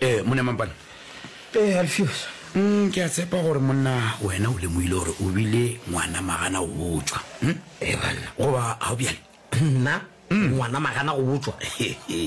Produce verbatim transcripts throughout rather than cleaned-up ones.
Ee, monna Mampane. Ee, Alfios. Mm, ke a tshepa gore monna wena o lemogile gore o bile ngwana magana go botšwa. Hm? Ee, banna. Goba ga o bjale? Nna? Ngwana magana go botšwa?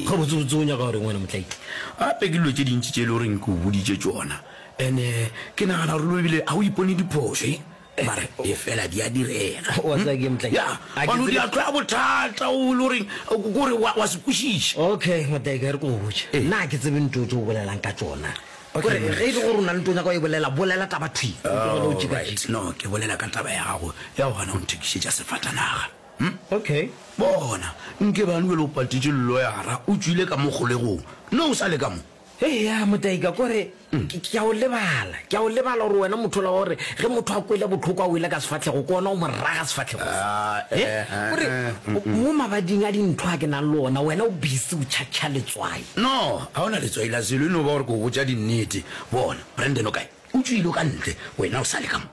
Gabotsebotse o nyaka goreng wena motlaiki? Gape ke dilo tše dintši tše e le goreng ke o boditše tšona. Ene ke nagana gore le ebile ga o ipone diphošo, e? Mara efela di a direga. Wa tseba ke motlaiki? Ya, A ke gobane o tsebe. di a tloya bothata o le goreng kore wa, wa se kwešiša. Okay, motlaiki, a re ke go botše. Nna ga ke tsebe ntho tše o bolelang ka tšona. Okay, Kore monna. ge e le gore o na le ntho o nyaka go e bolela, bolela taba thwi. O tlogele go Alright, tšikatšika. no, ke bolela ka taba ya gago ya go gana go nthekišetša sefatanaga. Hm? Okay. Bona, nke bane bjale o patetše lloyara, o tšwile ka mo kgolegong. No o sa le ka mo. Eya, Motaika, kore ke, ke a o lebala. Ke a o lebala gore wena motho ola wa gore ge motho a kwele bohloko a wele ka sefahlego, ke ona o mo raga sefahlego se. Ah, He? eh, Kore eh, mm, mm. mo mabading a dintho a ke nang le ona, wena o busy o tšhatšha letswai. No, ga o na letswai la selo, e no ba gore ke go botša dinnete. Bona, Brandon o kae? O tšwile o ka ntle, wena o sa le ka mo.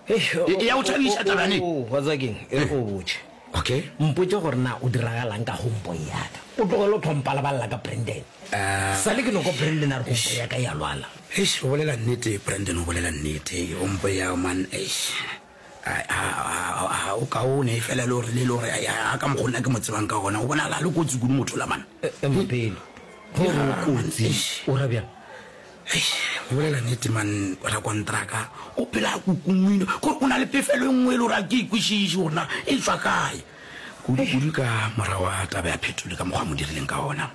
Eish, E, e ya go thabiša taba ne? o, o, wa tseba keng? E re ke go botše. Okay. Mpotše gore na o diragalang ka homeboy ya ka. O tlogele go tlhompha lebalela ka Brandon. Sa le ke no kwa Brandon a re homeboy ya ka e a lwala. Eish, o bolela nnete, Brandon o bolela nnete. Homeboy ya man, eish. A, a, a, a, o kaone efela le gore le le gore a, a ka mokgwa nna ke mo tsebang ka gona. O bonala a le kotsi kudu motho la man. Ema pele. Ge o re o kotsi, o ra bjang? Eish, o bolela nnete man, rakontraka o phela a kukungwile. Kore o na le pefelo e nngwe e le gore a ke e kwešiše gore na e tšwa kae. Kudu-kudu ka morago ga taba ya Phetole ka mokgwa a mo dirileng ka gona.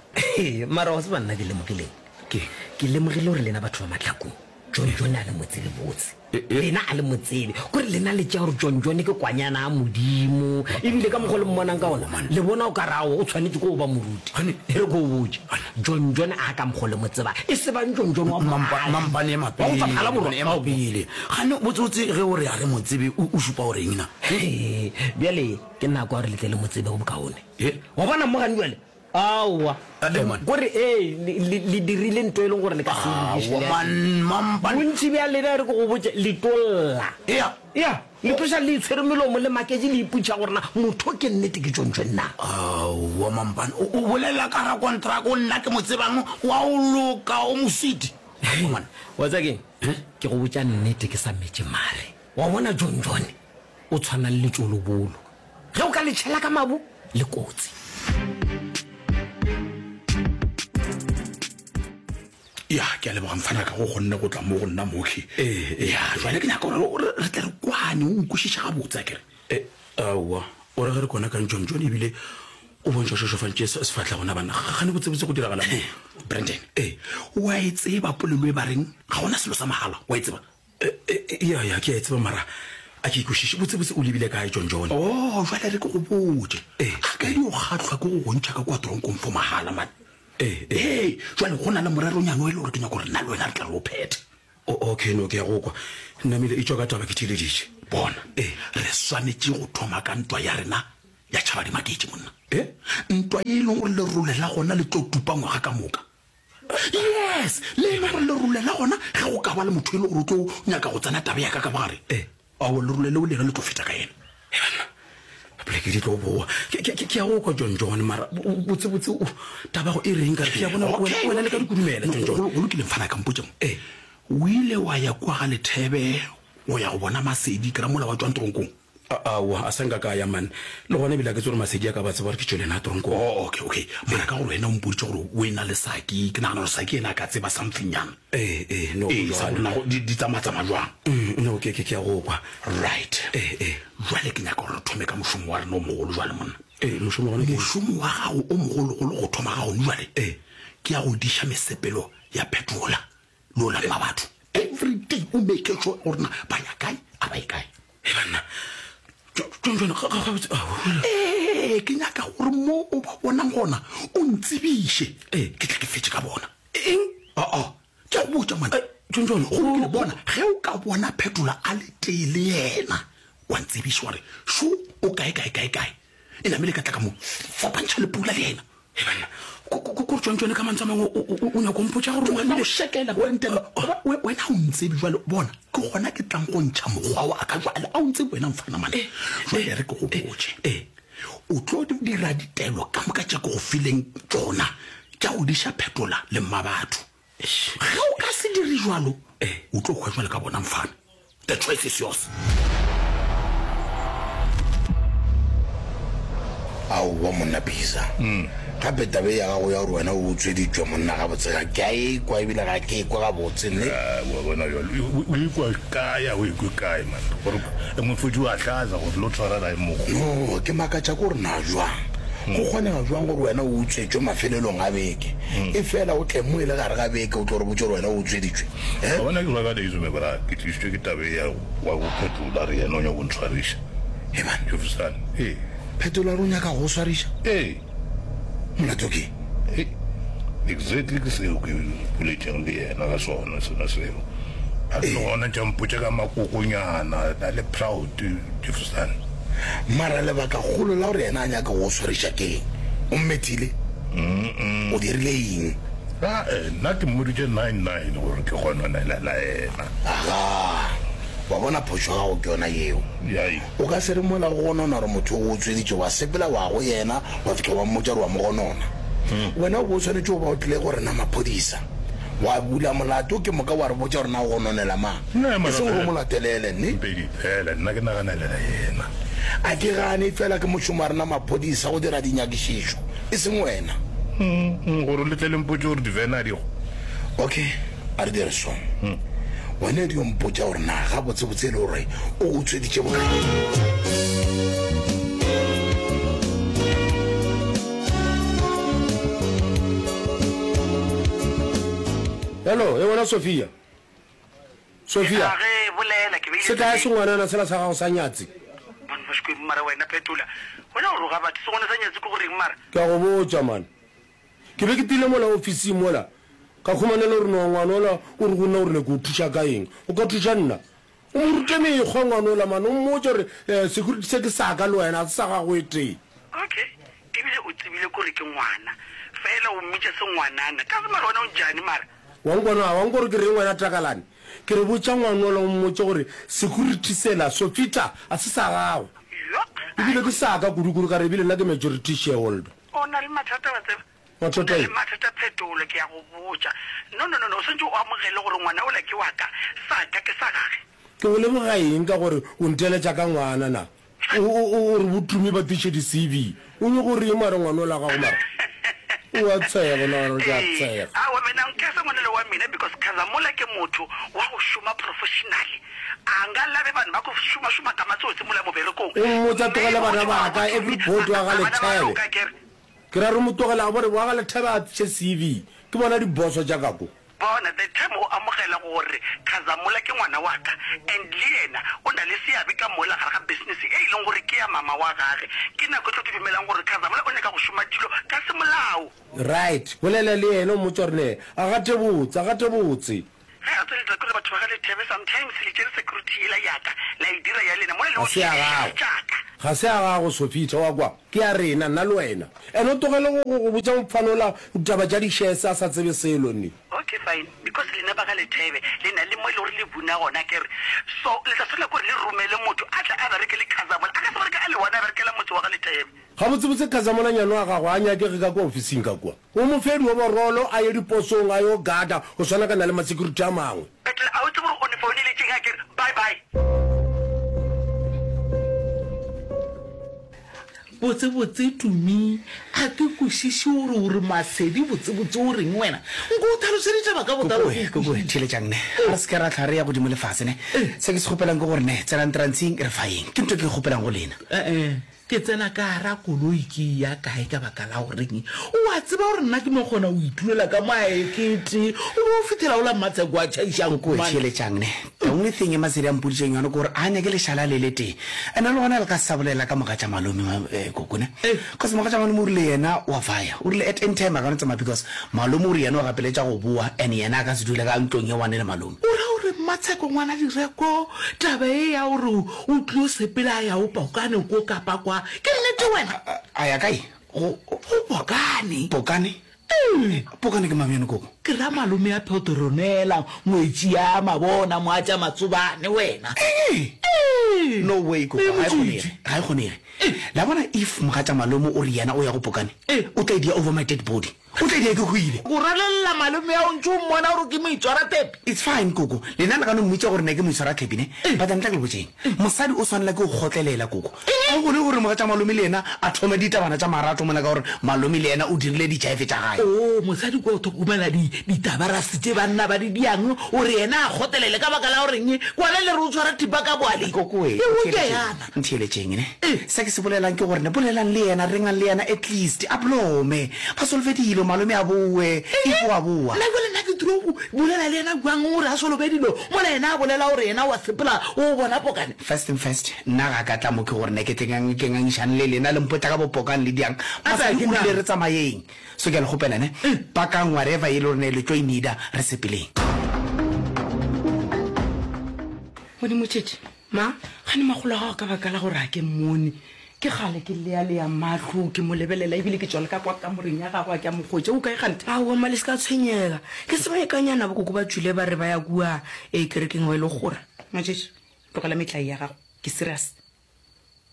Mara wa tseba nna ke lemogileng? Ke? Ke lemogile gore lena batho ba Mahlakong, John John a le mo tsebe botse. Lena a le mo tsebe. Kore lena le tšea gore John John ke kwanyana ya Modimo. Ebile ka mokgwa o le mmonang ka ona, le bona o ka re aowa o tshwanetše ke go ba moruti. E re ke o botše, John John a ka mokgwa o le mo tsebang, e se bang John John wa Mampa, Mogadi, mampane ema wa go tšwa pele, Phalaborwa. ema pele. Gane botsebotse ge o re a re mo tsebe, o, o šupa gore eng na? Hee, bjale ke nako ya gore le tle le mo tsebe go bokaone. He? Wa bona mo gane bjale? Aowa. Eh, man. Kore ee, le, le, le dirile ntho e leng gore le ka se e lokiše Aowa, le man, mampane. Bontši bja lena e re ke go botše, le tlo lla. Ea. Ea, le tloša le itshwere melomo, le maketše, le ipotšiša gore na motho ke nnete ke John John na. Aowa, mampane. O, o bolela ka rakontraka o nna ke mo tsebang wa o loka, o moswiti. Aowa, man. Wa tseba keng? Eh? Ke go botša nnete ke sa metše mare. Wa bona John John o tshwana le letšolobolo. Ge o ka le tšhela ka mabu, le kotsi. Ya, ke a leboga mfana ka go kgonne go tla mo go nna mokhwi. Ee, ee. Ya, jwale ke nyaka gore re, re tle re kwane, o nkwešiše gabotse akere. E, aowa, o re ge re kwana kang John John ebile o bontšha o šošofantše se, sefahlego na banna. Gane botsebotse go diragala mo. Brandon, Ee. wa e tseba polelo e ba reng ga gona selo sa mahala, wa e tseba? E, e, ya, ya, ke a e tseba mara a ke ikwešiše. Botsebotse o lebile kae John John? Oh, jwale re ke go botše. Ee. A ka di o kgahlwa ke go go ntšha ka kua toronkong for mahala man. Ee, ee. Ee, jwale go na le moreronyana o e le gore ke nyaka gore nna le wena re tla re o phethe. O, okay, no, ke a go kwa. Namile e tšwa ka taba ke theeleditše. Bona, Ee. re swanetše go thoma ka ntwa ya rena ya tšhaba di maketše monna. E? Ntwa ye e leng gore lerole la gona le tlo tupa ngwaga ka moka. Yes, le e leng gore lerole la gona ge go ka ba le motho e le gore o tlo nyaka go tsena taba ya ka ka bogare. Ee. Aowa, lerole leo le yena le tlo feta ka yena. He banna, poleke di tlo boa. Ke, ke, ke, ke a go kwa John John, mara bo-, botsebotse o, taba go e reng ka re ke a bona gore wena, wena le ka dikudumela, John John. Go lokile mfana ka mpotše mo. Ee. O ile wa ya kua ga Lethebe go ya go bona Masedi, ke ra mola wa tšwang toronkong? A, aowa, a sa nka ka ya man. Le gona ebile a ke tsebe gore Masedi a ka ba tseba gore ke tšwele na toronkong. Oh, okay, okay. Mara ka gore wena o mpoditše gore o e na le Saki, ke nagana gore Saki yena a ka tseba something nyana. Ee, ee, no, go Ee, sa bjalo. gore na go, di, di tsamatsamaya jwang. Mm, no, ke, ke, ke a go kwa. Right. Ee, ee. Jwale ke nyaka gore re thome ka mošomo wa rena o mogolo jwale, monna. Ee, mošomo gona ke eng? Mošomo wa gago o mogologolo go thoma ga gone jwale, Ee. ke ya go diša mesepelo ya phetola le o lamma batho. Every day o make sure gore na ba ya kae, a ba ye kae. He banna, John John, ga, ga, gabotse, ao. Ee, ke nyaka gore mo o ba bonang gona o ntsebiše. Ee. Ke tle ke fetše ka bona. Eng? Aa, ke a go botša man. Eh, John John, Go lokile, bona, ge o ka bona Phetola a le tee le yena, wa ntsebiša wa re, šo o kae, kae, kae, kae. E namile ka tla ka mo fapantšha le pula le yena. He banna, ko, ko, ko, ko John John ka mantswe a mangwe o, o, o, o nyaka go mpotša gore o Wena o namile- šekela, Brandon. Goba we-, wena o ntsebe jwale, bona, ke gona ke tlang go ntšha mokgwa wa ka jwale. A o ntsebe wena mfana mane. Jwale re ke go botše. eh. O tlo dira ditaelo ka moka tše ke go fileng tšona tša go diša Phetola le mmabatho. Ge o ka se dire jwalo, o tlo hwa jwale ka bona mfana. The choice is yours. Aowa monna Bisa. Gape taba ye ya gago ya gore wena o utsweditšwe monna gabotse ga ke a e kwa ebile ga ke e kwe gabotse ne. Wa bona bjalo o e kwa kae a o e kwe kae man gore mofodi wa hlaza gore lo tshwara rae mogo. No ke makatša ke gore na jwang go kgonega jwang gore wena o utswetšwe mafelelong a beke e fela o tle mo e le gare ga beke o tlo re botša gore wena o utsweditšwe eh? Wa bona ke rwaka days me bra ke tlišitšwe ke taba ye ya wa go phetola re yena o nyaka go ntshwariša. He man. Jefferson ee. Phetola re o nyaka go swariša? Ee. Molato ke? Hei, exactly ke seo ke boletšeng le yena ka sona, sona seo. A le gona ntše a mpotša ka makokonyana, a le proud, Jefferson. Mara lebakagolo la gore yena a nyake go swariša ke eng? O mmethile? O dirile eng? Ae, nna ke mmoditše nine nine gore ke gononela yena. Agaa, wa bona phošo ya gago ke yona yeo. Yai. O ka se re mola go gonona gore motho o go utsweditše, wa sepela wa go yena wa fihla wa mmotša gore wa mo gonona. Wena o be o swanetše go ba o tlile go rena maphodisa, wa bula molato ke moka wa re botša gore na o gononela mang, e seng gore o mo latelele, ne? Mpedi, Fela nna ke naganelela yena. A ke gane, efela ke mošomo wa rena maphodisa go dira dinyakišišo, e seng wena. Gore le tle le mpotše gore divene a di go. Okay, a re dire so. Wena e dio mpotša gore na gabotsebotse e le gore o go utsweditše bokae. Hello, e wena Sophia. Sophia. Ge bolela ke beile. Se kae sengwanana sela sa gago sa nyatsi? Man ba Xikwembu mara wena phetola. Wena o roga batho sengwana sa nyatsi ke goreng mara? Ke a go botša man. Ke be ke ttile mola ofising mola, ka khumana le gore no ngwana ola o re go nna o rile ke o thuša ka eng. O ka thuša nna? O mo rute mekgwa ngwana ola man, o mmotše gore eh, security se ke sa ka le wena, ga se sa gago e tee. Okay, ebile o tsebile kore ke ngwana, fela o mmitša sengwanana. Kaze mara wena o njani mara? Wa nkwa na? Wa nkwa gore ke reng wena Takalane? Ke re botša ngwana ola o mmotše gore security sela, Sofita, ga se sa gago. Yo! Ebile ke sa ka kudu-kudu ka re ebile nna ke majority shareholder. O na le mathata wa tseba. Mathata O na le eng? mathata Phetolo, ke a go botša. No, no, no, no, o swanetše o amogele gore ngwana ola ke wa ka, sa ka ke sa gage. Ke go leboga eng ka gore o nteletša ka ngwana na? O, o, o, o re bo Tumi ba tliše di C V. O nyoko reng mara ngwana ola gago mara? O a tshega nna gore ke a Ee, tshega. aowa mina nkese ngwana le wa mina because Khazamola ke motho wa go šoma professionally. A nga labe vanhu va ku šuma šuma ka matsotsi mola moberekong. O mmotsa tlogela Mme bana motho ba wa ka, go every Tumi board wa ga bana ba Lethebe. loka ke re. Ke ra re mo tlogela a bore wa ga Lethebe a tliše C V. Ke bona diboso tša ka ko. Bona, the time o amogela gore Khazamola ke ngwana wa ka and le yena o na le seabe ka mola gare ga business e e leng gore ke ya mama wa gage, ke nako e tlo ke dumelang gore Khazamola o nyaka go šoma dilo ka semolao. Right, bolela le yena o mmotse gore ne a gate botse, a gate botse. Ge a tsweletša ke gore batho ba ga Lethebe sometimes le tšere security yela ya ka la e dira ya lena mola le Ga se ya gago. tša ka. Ga se ya gago Sofita, wa kwa? Ke ya rena, nna le wena. And o tlogele go, go, go botša mofana ola ditaba tša di-shares a sa tsebe selo, nne. Okay fine, because lena ba ga Lethebe le na le mo e le gore le buna gona akere, so le tla swanela ke gore le romele motho a tle a bereke le Khazamola, a ka se bereke a le one a berekela motse wa ga Lethebe. Gabotsebotse Khazamola nyane wa gago a nyakege ka kua ofising ka kua. O mo fe dioborolo a ye diposong a yo gada go swana kana le ma-security a mangwe. Petrol, a o tsebe gore o ne founeletšeng akere? Bye bye. Botsebotse Tumi, a ke kwešiše gore o re Masedi botsebotse o reng wena? Nko o tlhalose ditaba ka botlalo Kokoe, ke kokoe, kwešiše. theeletšang ne. Ga re se ke ra hlwa re ya godimo le fase ne. Se ke se kgopelang ke gore ne, tsenang trantsing re fa eng. Ke ntho e ke e kgopelang go lena. Eh-eh, ke tsena ka gara koloi ke ya kae ka baka la goreng? O a tseba gore nna ke no kgona go itulela ka mo a ekete, o be o fihlela o la Mmatsheko a tšhaišang Kokoe, man. theeletšang ne. The only thing e Masedi a mpoditšeng yona ke gore a nyake lešala le le tee. And-e le gona le ka se sa bolela ka mogatša malome, ma, eh, koko ne. Cause mogatša malome o rile yena wa fire. O rile at any time a ka no tsamaya because malome o re yena o gapeletša go boa and yena a ka se dule ka ntlong ye one le malome. O ra gore Mmatsheko ngwana Direko, taba e ya gore o tlilo sepela a ya o Pokane ko kapa kwa, ke nnete wena? A, a ya kae? Go, Go Pokane. Pokane? Ee. Pokane ke mang yone koko? Ke ra malome ya Petronella, ngwetši ya Mabona, moatša Matsobane wena. Ee. Ee. No way koko, Ee, ga e kgonege, Motšitši. ga e kgonege. La bona if mogatša malome o re yena o ya go pokane, o tla e dia over my dead body. O tla e dia ke hwile. O ralelela malome ya o ntše o mmona gore ke moitshwarathepi. It's fine koko, lena le ka no mmitša gore ne ke moitshwarathepi ne, but ntla ke le botšeng, mosadi o swanela ke go kgotlelela koko. Ga go kgone gore mogatša malome le yena a thome ditabana tša marato mola ka gore malome le yena o dirile dijaefe tša gae. Oo, mosadi kwa o thokomela di, ditabarase tše banna ba di diang, o re yena a kgotlelele ka baka la goreng? Kwana le re o tshwara thipa ka boaleng. Koko we, E o ke ntheeletšeng, yana. ntheeletšeng ne. Se ke se bolelang ke gore ne bolelang le yena, rengang le yena at least a blome, ba solve dilo, malome a bowe, if o a bowa. Nna jwale nna ke tlo go bolela le yena bjang gore a solobe dilo mola yena a bolela gore yena wa sepela o bona pokane? First thing first, nna ga ka tla mo ke gore ne ke tle ke ngangišane le lena le mpotša ka bo pokane le diang. Mosadi o rile re tsamayeng. So ke a le kgopela ne, pakang whatever e le gore ne le tlo e needa, re sepeleng. Modimo Tšhetše, Ma? gane makgolo a gago ka baka la gore a ke mmone. Ke kgale ke lealea mahlo ke mo lebelela ebile ke tšwa le ka kwa kamoreng ya gagwe a ke a mo hwetša. O kae kganthe? Aowa mma, le se ka tshwenyega. Ke sebakanyana bokoko ba tšwile ba re ba ya kua e kerekeng ba ile go kgora. Motšhetše, tlogela metlae ya gago. Ke serious.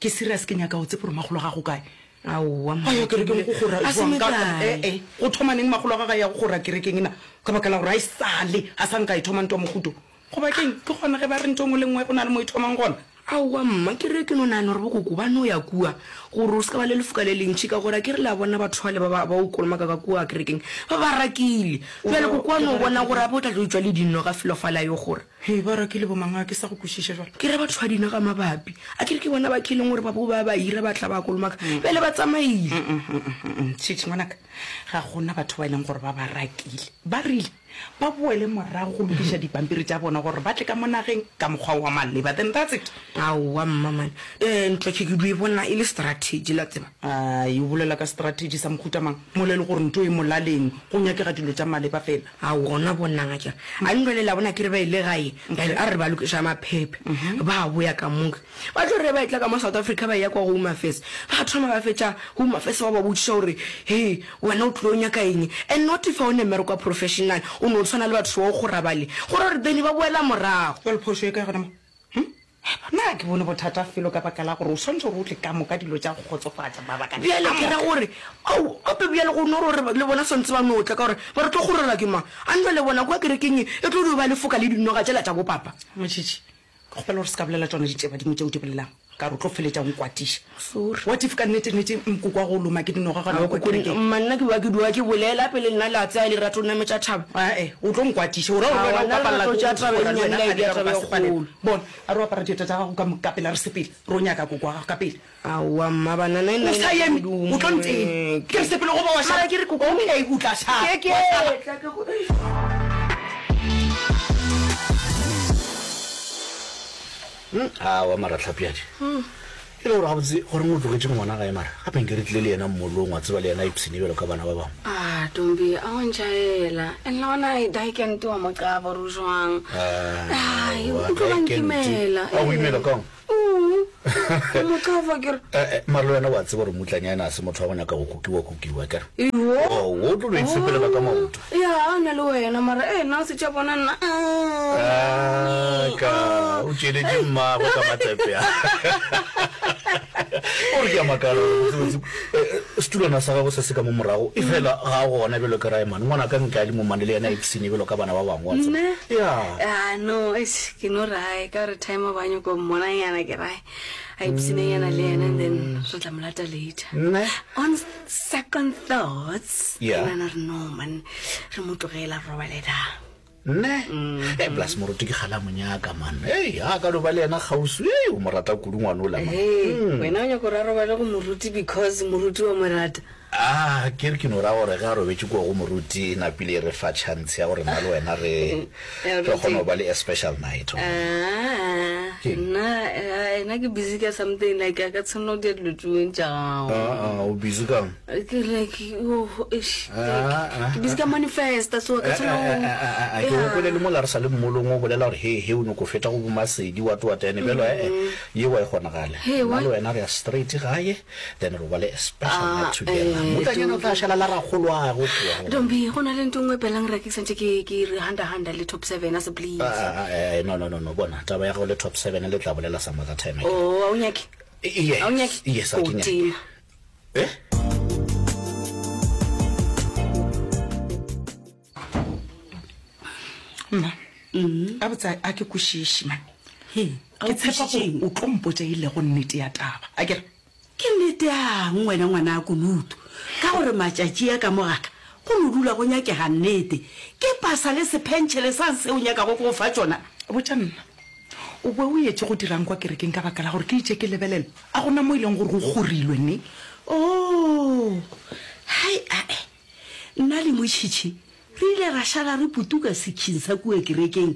Ke serious, ke nyaka go tseba gore makgolo a gago kae. Aowa mma, A ya kerekeng go kgora a se jwang? Ka, metlae. eh, eh, go thoma neng makgolo a gagwe a ya go kgora kerekeng ena? Ka baka la gore a e sale a sa nka e thoma ntwa mohuto. Goba keng? Ke gona ge ba re ntho e nngwe le nngwe go na le mo e thomang gona. Aowa mma, ke re ke no nagana gore bokoko ba no ya kua gore o se ka ba le lefoka le lentši, ka gore a ke re le a bona batho bale ba ba, ba o kolomaka ka kua kerekeng ba ba rakile. Bjale koko wa no bona gore gape o tla tlo tšwa le dinoga felo fale a yo gora. Hei, ba rakile bomang? A ke sa go kwešiša jwale. Ke re batho ba dinoga mabapi, a ke re ke bona ba ke leng gore ba bo ba ba hira ba tla ba kolomaka, bjale ba tsamaile. Tšhitšhi ngwanaka, ga gona batho ba e leng gore ba ba rakile. Ba rile ba boele morago go lokiša dipampiri tša bona gore ba tle ka mo nageng ka mokgwa wa maleba, then that's it. Aowa mma man, eh, ntlo ke ke dio e bona e le strategy la tseba. Ai, o bolela ka strategy sa mohuta mang mola e le gore ntho e molaleng, go nyakega dilo tša maleba fela. Aowa, gona bonang a kere a ntlo le la bona ke re ba ile gae, bjale a re ba lokiša maphephe, ba boya ka moka. Ba tlo re ba etla ka mo South Africa ba eya kwa Home Affairs, ba thoma ba fetša Home Affairs ba ba botšiša gore he wena o tlilo nyaka eng, and not if o ne mmereko wa professional, o no tshwana le batho ba go kgora bale, gore gore then ba boela morago. Jwale phošo e kae gona mo? Hm? Nna ke bone bothata felo ka baka la gore o swanetše gore o tle ka moka dilo tša go kgotsofatša mabaka Bjale ka ke ra moka. gore ao gape bjale go no gore le bona swantse ba no tla ka gore ba re tlo kgorelwa ke mang, a ntlo le bona kwa kerekeng e tlo dio ba lefoka le dinoga tšela tša bopapa. Motšhitšhi, ke kgopela gore se ka bolela tšona ditšeba dingwe tšeo di bolelang, ka gore o tlo feletša o nkwatiša. Sorry. What if ka nnete-nnete nkoko wa go loma ke dinoga gona kwa kerekeng? Mma, nna ke ba ke dua ke bolela pele nna le a tsaya lerato nametša thaba. Ae, o tlo nkwatiša. O ra gore wena o Aowa, ka nna palela lerato ke tša go taba e kgora le nnyane wena la e kgane bea ka taba gore e ba se palelwe. kgolo. Bona, a re o apara dieta tša gago ka ka pela re sepele, re o nyaka koko wa gago ka pele. Aowa, mma, banana e nna O e sa nyaka eme, godimo, o tlo ntena. eh, Ke re sepele goba wa šala. Mara ke re koko- Okay, o tla šala. Ke- ke Wa šala. tla ke go- Aowa mara Tlhapiadi, e le gore gabotse goreng o tlogetše ngwana gae mara gape nke re tlile le yena mmolong wa tseba le yena a ipshine bjalo ka bana ba bangwe. Ah, Tombi, a wa ntšhaela. And le gona e daekente wa mo qaba gore o jwang. Ai, o tlo ba nkimela. A go imela kang? Mm. O mo qaba ke re. Eh, eh, mara le wena wa tseba gore mmutlanyana a se motho wa go nyaka go kukiwa kukiwa kere. Iwo. Oh, o tlo no itshepelela ka maoto. Ya, na le wena mara eh nna o se tša bona nna. Ah, ka o tšeletše mmagwe ka matsepe a. O re ke a makala gore botsebotse, eh, eh, setulwana sa gagwe se se ka mo morago e fela ga a gona bjalo ka Raemane. Ngwana ka nka le momane le yena a ipshine bjalo ka bana ba bangwe wa tseba. Nna? Ya. Ah, no, eish, ke no rae ka gore time ba nyako mmonanyana ke rae. A ipshinenyana le yena and then re tla mo lata later. Nne? On second thoughts, Yeah. ke nahana re no man, re mo tlogela re robale da. Nne? Eh, plus moruti ke kgale a mo nyaka, man. Hei, ha ka no ba le yena kgauswi, hei, o mo rata kudu ngwana ola, man. Hei, wena o nyaka gore a robale go moruti because moruti wa mo rata. Ah, ke re ke no ra gore ge a robetše kua go moruti e napile e re fa chance ya gore nna le wena re Ya re kgone moruti. go ba le a special night. Ah, Keng? nna, eh, nna ke busy ka something like a ka tshwanela go dira dilo tšeo tša gago. Ah, ah, o busy kang? Ke like, oh, eish, Ah, like, ah, ke busy ka manifesta, so ka Eh, tshwanela eh, go- eh, eh, eh, eh, ke Yeah. go kwele le mola re sa le mmolong o bolela gore he he o nyako feta go bomasedi wa toa tene bjalo eh, eh, ye wa e kgonagale. Hey, Nna what? le wena re ya straight gae then re ba le a special Ah, night together. eh, Mmutlanyana o tla Tombi. šala la rakgoloago kua. Tombi, go na le ntho e nngwe pelang re ke santse ke ke re handa handa le top seven a se please. Ah, ah, eh, no no no no bona taba ya gago le top seven le tla bolela some other time. Oh, a o nyake? Yes, A o nyake? yes, a Ko ke nyake. tima. Eh? Mma, a botsa a ke kwešiše man. a Ke o tshepa gore kwešišeng? o tlo mpotša e lego nnete ya taba. A ke re? Ke nnete yang wena ngwana a kunutu ka gore matšatši a ka mo gaka go no dula go nyakega nnete. Ke pasa le sephentšhele sang seo nyakago go fa tšona? Botša nna, o be o etše go dirang kwa kerekeng ka baka la gore ke itše ke lebelela a gona mo e leng gore go kgorilwe ne? Oh, hai ae, nna le Motšhitšhi re ile ra šala re putuka sekhing sa kua kerekeng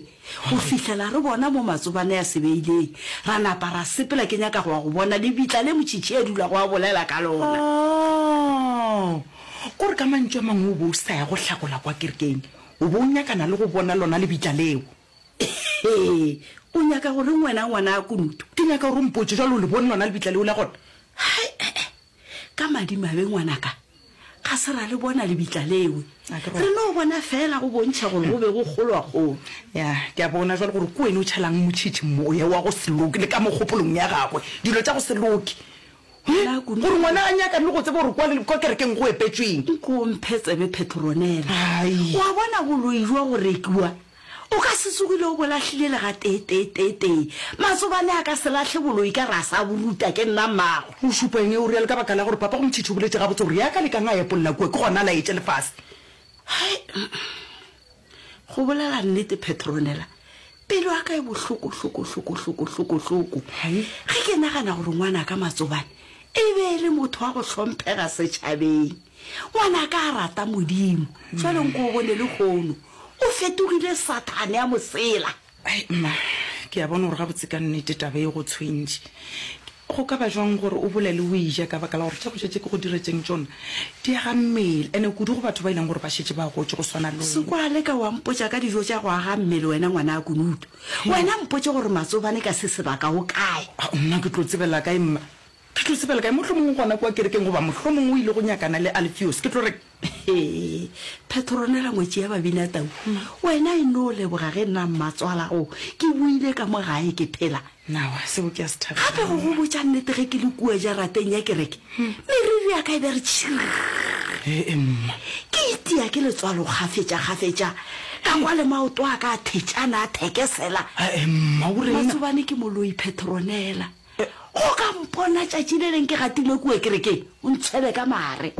go fihlela re bona mo matsobane a se beileng. Ra napa ra sepela ke nyaka go ya go bona lebitla le Motšhitšhi a dulago a bolela ka lona. Oh, kore ka mantšu a mangwe o be o sa ya go hlakola kwa kerekeng, o be o nyakana le go bona lona lebitla leo. Ee, o nyaka go reng wena ngwana a kunutu? Ke nyaka gore o mpotše jwale o le bone lona lebitla leo la gona. Hai, eh, eh, ka madimabe ngwanaka, ga se ra le bona lebitla leo. A ke Re no bona fela go bontšha gore go be go kgolwa-kgolwa. Ya, ke a bona jwale gore ke wena o tšhelang Motšhitšhi moya wa go se loke le ka mogopolong ya gagwe, dilo tša go se loke. Ngwana Kunutu. Gore ngwana a nyakane le go tseba gore kwa le, kwa kerekeng go epetšweng. Nko o mphe tsebe Petronella. Ai. Wa bona boloi jwa go rekiwa, o ka se tsogile o bo lahlile le gateeteeteetee. Matsobane a ka se lahle boloi ka re a sa bo ruta ke nna mmago. O šupa eng e o realo ka baka la gore papa go Motšhitšhi o boletše gabotse gore ya ka lekang a epolla kua ke gona a laetše lefase. Hai, go bolela nnete Petronella, pelo ya ka e bohloko, hloko, hloko, hloko, hloko, hloko. Hai. Ge ke nagana gore ngwanaka Matsobane e be e le motho wa go hlomphega setšhabeng, ngwanaka a rata Modimo, jwale nko o bone lehono o fetogile Sathane a mosela. Ai, mma, ke a bona gore gabotse ka nnete taba e go tshwentše. Go ka ba jwang gore o bolele o eja ka baka la gore tša go ja tše ke go diretšeng tšona di aga mmele, ene kudu go batho ba e leng gore ba šetše ba gotše go swana le wena. Sekwale ka wa mpotša ka dijo tša go aga mmele wena ngwana a kunutu. Wena mpotše gore Matsobane ka se sebaka o kae? A, nna ke tlo tsebela kae mma? Ke tlo tsebela kae? Mohlomongwe gona kua kerekeng goba mohlomongwe o ile go nyakana le Alfios. Ke tlo re He, Petronella ngwetši ya Babinatau, wena e no leboga ge nna mmatswalago ke boile ka mo gae ke phela. Nawa, seo ke a se thabela. Gape go go botša nnete ge ke le kua jarateng ya kereke, meriri ya ka e be re tšhirr. Ee, mma. Ke itia ke letswalo kgafetša-kgafetša, ka kwa le maoto a ka a thetšana a thekesela. Ee, mma, o reng? Matsobane ke moloi, Petronella. Go ka mpona tšatši le leng ke gatile kua kerekeng, o ntshwele ka mare.